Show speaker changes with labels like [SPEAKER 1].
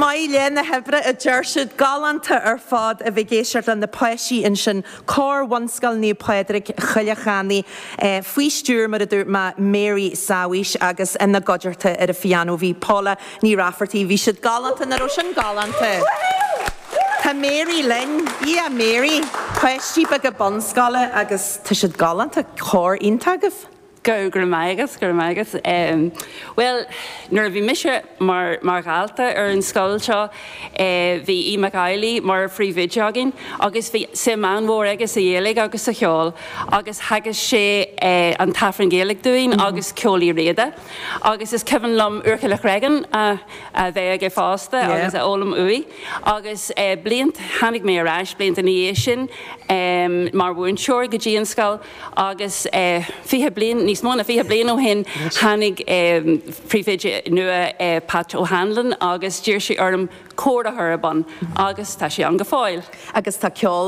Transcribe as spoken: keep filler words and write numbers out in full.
[SPEAKER 1] Maith lá na hoibre a deir siad galánta ar fad a bheith ag éisteacht le na páistí ansin Cór Bhunscoil Naomh Pádraig Choille Channaigh eh, faoi stiúir mar a dúirt mé Mary Sáwis agus ina gcuideachta ar an phianó bhí Paula Ní Raifeartaigh bhí siad galánta nach raibh sin galánta. Tá Mary linn í a Mary páistí beaga bunscoile agus tá siad galánta cór iontach agaibh.
[SPEAKER 2] Go go maigus go maigus. Um, well, nuair a bhí mise mar mar dhalta ar an scoil seo eh, bhí í MacAilí mar phríomhoide againn agus bhí suim an-mhór aige sa Ghaeilge agus sa cheol agus theagasc sé eh, an tAifreann Gaeilge dúinn mm -hmm. agus Ceol Uí Riada. Agus is cuimhin liom Úrchill Chregan a, a bheith aige fosta yeah. agus a fhoghlaim uaidh. agus eh, bliain tháinig mé ar ais blianta ina dhiaidh sin um, mar mhúinteoir go dtí an scoil agus eh, fiche bliain níos mó ná fiche bliain ó shin tháinig um, príomhoide nua eh, Pat O'Hanlon agus d'iarr sé orm cór a chur ar bun agus tá sé an go fóill.
[SPEAKER 1] Agus tá ceol